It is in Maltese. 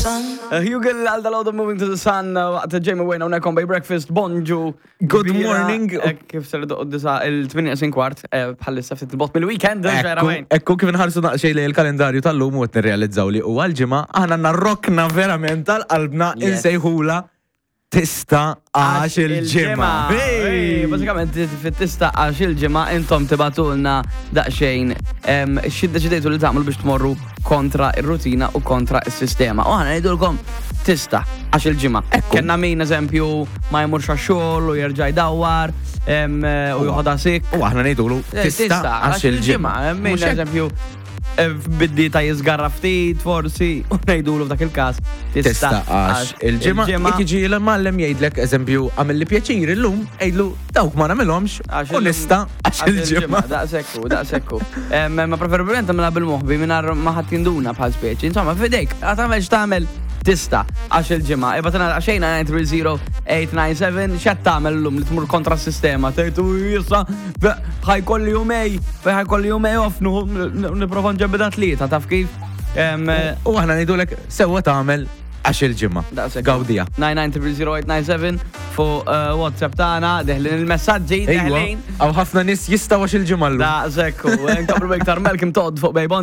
Hugel għal dal Moving to the Sun waqt Jamie Wayne hawnhekk on Bay Breakfast, bonġu. Good morning. Kif ser doq disa il-8 kwart bħalissa ftit il-bot mill-weekend. Ekku kif nħarsu naqxej li l-kalendarju tal-lum u qed nirrealizzaw li huwa l-ġimgħa aħna għandna rokna verament tal-qalbna insejħula Tista għax il-ġimgħa. Bażikament fit-tista għax il-ġimgħa intom tibatulna daqsxejn xi ddeċidejtu li tagħmlu biex tmorru kontra ir-rutina u kontra is-sistema. U aħna ngħidulkom tista għax il-ġimgħa. Kenna min eżempju ma jmurx għax-xogħol u jerġa' jdawwar u joħodha sik. U aħna ngħidulu eh, tista għax il-ġimgħa. Min eżempju biddi ta' jizgarra ftit, forsi, u ngħidulu f'dak il-każ. Tista' għax il-ġimgħa jekk jiġi l-mallem jgħidlek eżempju għamilli pjaċir illum, għidlu dawk ma nagħmilhomx u nista' għax il-ġimgħa. Daqsekku, daqsekku. Ma preferibilment tagħmilha bil-moħbi mingħajr ma ħadd jinduna bħal speċi. Insomma, f'idejk, tagħmel x'tagħmel tista' għax il-ġimgħa. Ibatana xejn 930 897 x'qed tagħmel illum li tmur kontra s-sistema. Tgħid issa ħajkolli jumej, ħajkolli jumej off, niprofa nġebbida tlieta, taf kif? U aħna ngħidulek sewwa tagħmel għax il-ġimgħa. Gawdija. 9900897 fuq WhatsApp tagħna, deħlin il-messaġġi, deħlin. Għaw ħafna nies jistgħu għax il-ġimgħa llum. Daqshekk, nkomplu iktar Malcolm Todd fuq Bejbon.